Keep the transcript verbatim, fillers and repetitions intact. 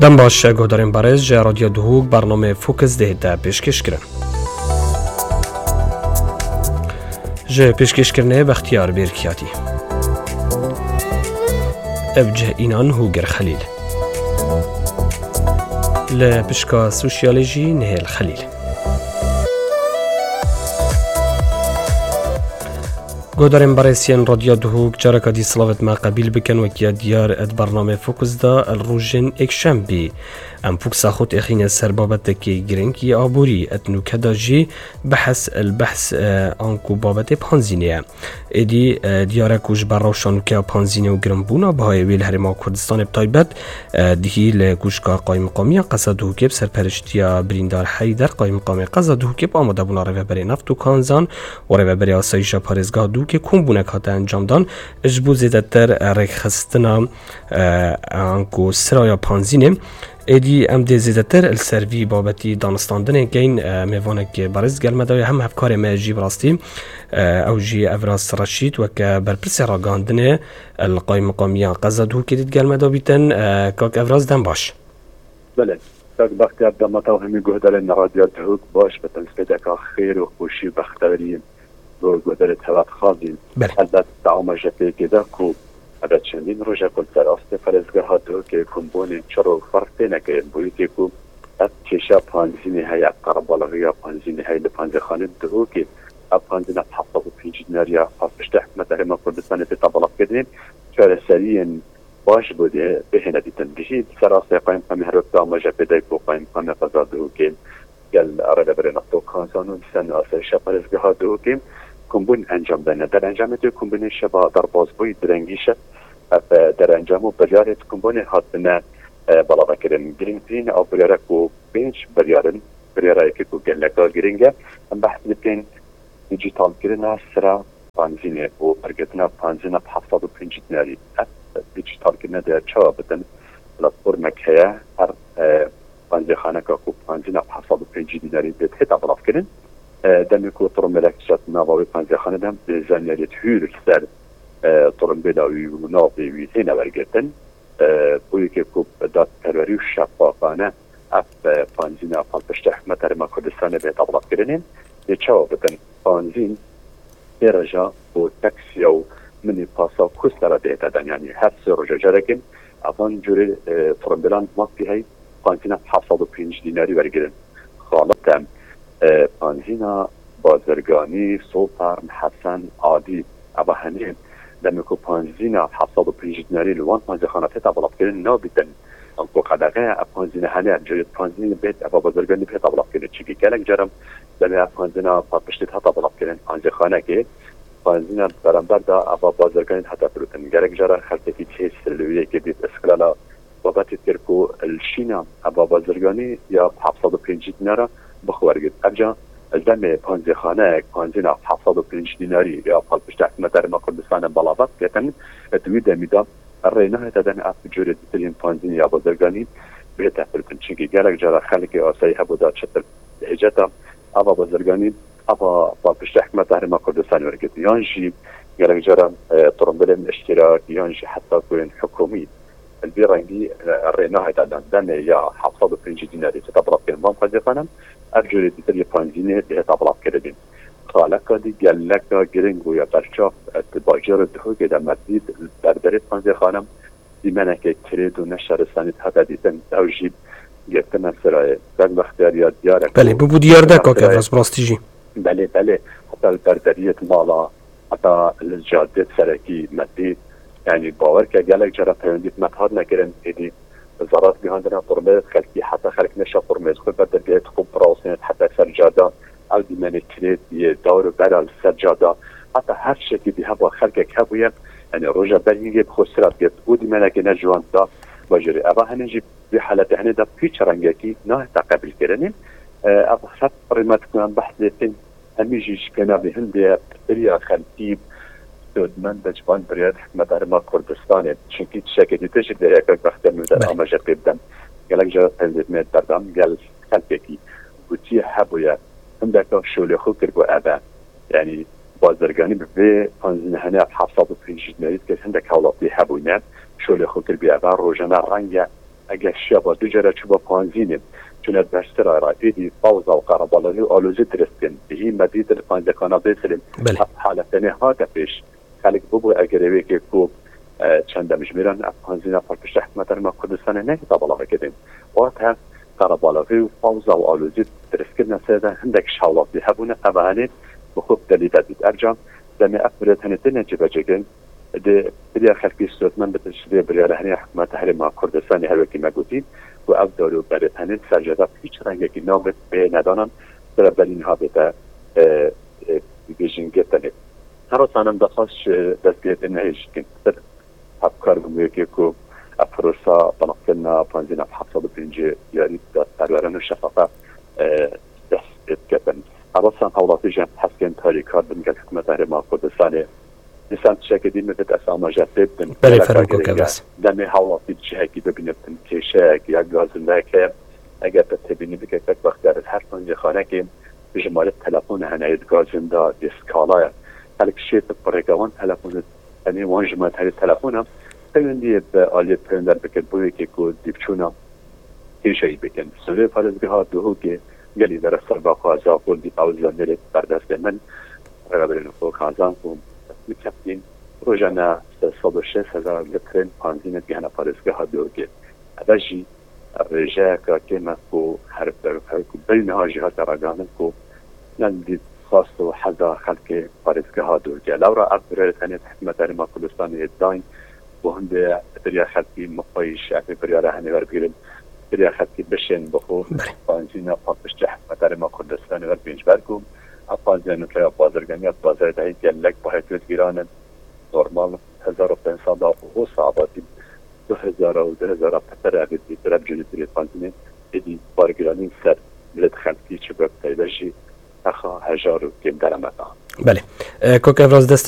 Dem baş, guhdarên berêz, ji Radyo Duhok bernameyê Focus dihête pêşkêşkirin. Ji pêşkêşkirinê Bextiyar Bêrkiyatî. Ev cih înan Hûgir Xelîl. Li pişka sosyalê jî Nihêl Xelîl. Guhdarên berêz yên Radyo Duhok, careka dî silavêt me qebîl bikin. Wekî ya diyar di bernameyê Focus de li rojên êkşembî em fokusa xwe têxîne ser babetekî girîng yê aborî. Di nûke de jî behs li behs, e, anku babetê panzînê ye. Êdî, e, diyar e ku ji ber rewşa nûke ya panzînê û girinbûna bihayê wê li Herêma Kurdistanê bi taybet, e, dihî li Kûşka Qayimqamiya Qeza Duhokê bi serperiştiya birîndar Heyder, Qayimqamê Qeza Duhokê, bi amadebûna Rêveberê Neft û Kanzan û Rêveberê Asayîşa Parêzgeha Duhokê kombûnek hate encamdan ji bo zêdetir rêkxistina, e, anku siraya panzînê. Êdî em dê zêdetir li ser vî babetî danistandinê keyin. E, mêvanek berêz gel me de ye, hem hevkarê me jî bi rastî, e, ew jî Evras Reşîd weke berpirsê ragihandinê li Qayimqamiya Qeza Duhokê dît gel me de bîtin. E, kak Evras, dem baş. Belê, kak Bextiyar, dema te û hemî guhdarên Radyo Duhok baş bitin, spêdeka xêr û xweşî û bexteweriyê bo guhdarê teva dixwazîn. Belê. Helbet di amaje pêkê de ku eve çendîn roj e ku li ser astê parêzgeha Duhokê kombûnên çir û ferq têne kirin. Bo yekê ku ev kêşa panzînê heye, qerebalixiya panzînê heye li panzêxanê Duhokê. Ev panzîna heft sed û pêncî dinarî ya piştî hikûmeta Herêma Kurdistanê tê tebelafkirinê, çareseriyên baş bo dê bihêne dîtin. Gişî li ser astê qayîmqamê her wek te amaje pê de ku qayîmqamê qeza Duhokê gel Rêveberê Neft û Kanzan û li ser asayîşa parêzgeha Duhokê kombûn encam dayne. Derencamê tê kombûnê şeva derbasbûyî direngî şev. Ev, e, derencam û biryarê di kombûnê hatine, e, belavekirin. Girîngtirîn ew biryare ku pênc biryar in, biryara yekê ku geleka girîng e, em behs dikin dijîtalkirina sira panzînê û bergirtina panzîna bi heft sed û pêncî dinarî. Ev dijîtalkirine dê çawa bitin? Platformek heye, her, e, panzêxaneka ku panzîna bi heft sed û pêncî dinarî bê têta belavkirin. E, demê ku tirimbêlek diçe di nava wê panzêxanê de, dê zanyariyê hûr li ser, e, tirimbêla wî û navê wî têne wergirtin. E, bo yekê ku bi dadperwerî û şeffafane ev, e, panzîna palpiştê hikûmeta Herêma Kurdistanê bê tebelafkirinê, dê çawa bikin? Panzîn pê reja û taksiya û minîpasa ku sera dihête dan, yanî her sê roja carekê evan curê, e, tirimbêlan mafî hey panzîna heft sed û pêncî dinarî wergirin. Xalit e, e, panzîna bazirganî, Sultan, Hesen, Adî, eva henê demê ku panzîna heft sed û pêncî dinarî li wan panzîxana têta belavkirin nabîtin. Anku qedexe ev panzîna hene, ev cihê panzînê bêt, eva bazirganî bêta belavkirin. Çimkî gelek caran demê ev panzîna palpiştî heta belavkirin panzîxanekê, panzîna beramber de eva bazirganî heta firotin. Gelek caran xelkekî cihê sirlewiyekê dît, îstiqlala babetê kir ku li Şîna eva bazirganî ya heft sed û pêncî dinara bixwergit. Evca demê panzêxaneyek panzîna heft sed û pêncî dinarî ya palpişta hikûmeta Herêma Kurdistanê belavat ketin, di wî demî de rê nahête dan ev curê dîtir yên panzînê ya bazirganî bihête firotin. Çimkî gelek cara xelkê asayî hebû da çitir hêceta ava bazirganî, ava palpişta hikûmeta Herêma Kurdistanê wergirt. Yan jî gelek cara, e, tirimbêlên îştîrak, yan jî heta ku yên hikûmî. Li vî rengî, e, rê nahête dan demê ya heft sed û pêncî dinarî têta belavkirin van panzêxanan, ev curê dîtir yê panzînê dihêta belavkirinê. Xaleka dî geleka girîng bûye berçav, e, di bajarê Duhokê de me dît, li berberê panzêxanan dîmeneke kirêt û neşaristanî dihate dîtin. Ew jî girtine sirayê. Kak Bextiyar ya diyar e ku Belê, bûbû diyar de, girtine kak sirayê. Evras, bi rastî jî. Belê, belê. Heta li berberiyê di mala, heta li cadê serekî me dît. Yanî bawer ke gelek cara peywendiya me hatine kirin, êdî zarar gihandine qurmê xelkî, heta xelk neşa qurmê xwe ber dergehê xwe birawestîne heta ser cada. Ew dîmenê kirêt yê dawr û bera li ser cada. Heta her tiştekî bî heba xelkek hebûye, yanî roja ber hîngê bi xwe sira girt û dîmenekê ne ciwan da bajêrê. Eva hene jî vî haletê hene de pîç rengekî nahête qebîlkirinê. E, ev her rîmet ku em behs lê tên, hemî jî ji pênavê hindê ye, pirsgiriya xelkî dodmend e ji van biryarê hikûmeta Herêma Kurdistanê. Çimkî tiştekê dîtir jî dê heke bextê min de Belê. amaje pê bidem. Gelek cara peyvê me berdam gel xelkekî gotiye hebûye. Hindeka şolê xwe kir ku eve. Yanî bazirganî bi vê panzînehane heft sed û pêncî dinarî dikir hindek hewlatî hebûne. Şolê xwe kir bî eve rojane renge Eger şiyaba du cara çûba Panzînê, çûne berstira ra êdî fawza û qerebalixî û alozî dirist kin. Bihî me dît li Panzekana Bêsilê Belê. Ev hale tenê hate pêş. Xelk bûbû eger ê wêkê ku, e, çend demjimêran ev Panzîna pir piştre hikûmeta Herêma Kurdistanê nehêta belav bikin. Wate qerebalixî û fawza û alozî diristkirine ser de hindek ji hawlatî hebûne, ev henê bi xwe bi delî vedît. Ev ca demê ev birêt henê têne cîbecîkirin, di biriya xelkî sûretmend bitin ji vê biryara henê hikûmeta Herêma Kurdistanê her wekî me gotî ku ev dar û berêt henê serceda hîç rengekî nabit bê nedanan sira belî niha bête, e, e, bêjin girtinê. Her sanim daxwaz ji destgirê nehêjîkin. Hevkar bûn wê yekê ku ev prosa belankirina Panzîna heft sed û pêncî yarî dadperweran û şefaqe, e, dest pê diketin. Helbet hewlatî jî hevkên tarîkar bin gel hikûmeta Herêma Kurdistanê. Dîsan tiştekê dî min vêt ez amaje pê bidim. Belê, Gelek fermo agirê kok ye. Evras. Demê hewlatî cihekî bibîne bidim kêşeyek ya gazindeyek heye. Eger te têbînî bike kek wextê ez her panzêxanekê jimarê telefon hene yê di gazinda dê skala ye. Xelk şêt bi rêka wan telefon Tenê wan ji me tenê telefon e. Peywendiye bi aliyê peyonder bikin bo yekê ku dîvçûna kêşeyî bikin. Serê parêzgeha Duhokê gelî dere serba xwe Zafol dî ew zanêrê berdestê min. Rêveberên xwe kazan ku min keptîn rojane sê sed û şêst hezar litrên panzîne digihene parêzgeha Duhokê. Eve jî rêjeyeke kêm e ku her ber her ku berî niha jî hate ragihandin ku ne li dît xwest û heza xelkê parêzgeha Duhokê. Lewra ev birêt tenê hikûmeta Herêma Kurdistanê yê dayîn ku hindê biriya xelkî mixweyî ji ev biryara henê werbigirin, biriya xelkî bişên bi xwe Belê. Panzîna paqij ji hikûmeta Herêma Kurdistanê wer pêncber ku ev panzîna nûke ya bazirganiya bazarê dehî gelek bahê tu digiranin. Normal hezar û pênc sed û hozda abatî du hezar û du hezar petir ev dî direb cûnî dirê panzînê êdî bargiranîn ser millet xelkî çi bi taybet jî hexa hejar û kêm deremetan. Belê. E, Kok Evraz dest